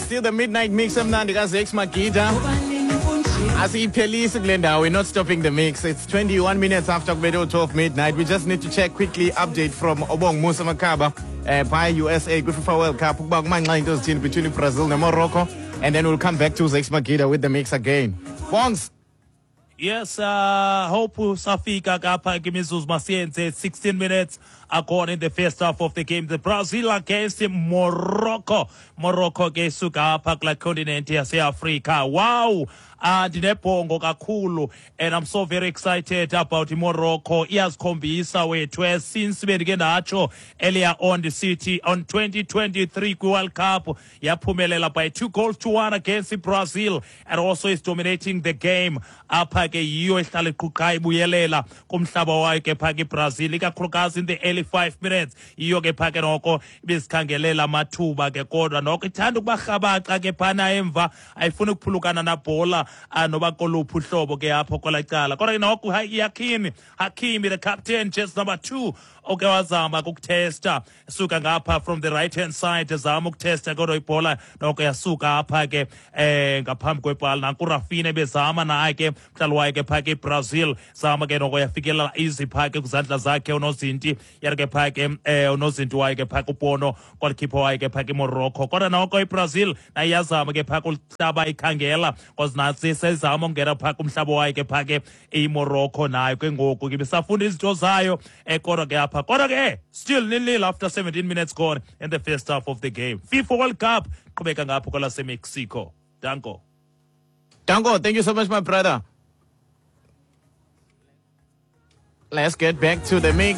Still the midnight mix emnandi kaZakes Magida. Asiyiphelisi kule ndawo. We're not stopping the mix. It's 21 minutes after kubethe 12 midnight. We just need to check quickly update from Obong Musa Makaba by USA kwi-FIFA World Cup ukuba kumanxa into ezithini between Brazil neMorocco, and then we'll come back to Zakes Magida with the mix again. Bongs. Yes, hope safika kapha kimizuzu masiyenze 16 minutes akhona in the first half of the game, the Brazil against Morocco. Morocco ke isuka apha kula continent yaseAfrika. Wow, ndinebhongo kakhulu and I'm so very excited about iMorocco. Iyazikhombisa wethu since bendike ndatsho earlier on the city on 2023 kwi-World Cup yaphumelela by 2 goals to 1 against Brazil and also is dominating the game. Apha ke yiyo ehlala iquqa ibuyelela kumhlaba wayo ke phaa ke iBrazil, ikakhulukazi in the early 5 minutes. Yiyo ke phaa ke noko ibizikhangelela amathuba ke, kodwa noko ithanda ukuba rhabaxa ke phana emva, ayifuni ukuphulukana nabhola noba koluphi uhlobo ke apho kwelaa cala. Kodwa ke noko Hakimi, Hakimi the captain, just number 2, oke wazama ukuthesta suka ngapha from the right hand side, ezama ukuthesta, kodwa ibhola noko yasuka apha ke ngaphambi kwebhala. Nanku Rafinha ebezama naye ke, mdlali wayo ke phaa ke iBrazil, zama ke noko yafikelela easy phaa ke kwizandla zakhe unozinti, yari ke phaa ke unozinti wayo ke phaa kuBono, goalkeeper wayo ke phaa ke Morocco. Kodwa noko iBrazil nayo iyazama ke phaa kuhlaba ikhangela, cause nantsi sezama ukungena phaa kumhlaba wayo ke phaa ke iMorocco, nayo ke ngoku ke ibisafunda izinto zayo kodwa ke apha, kodwa ke still 0-0 after 17 minutes gone in the first half of the game. FIFA World Cup qhubeka ngapho kwelaseMexico. Danko. Danko, thank you so much, my brother. Let's get back to the mix.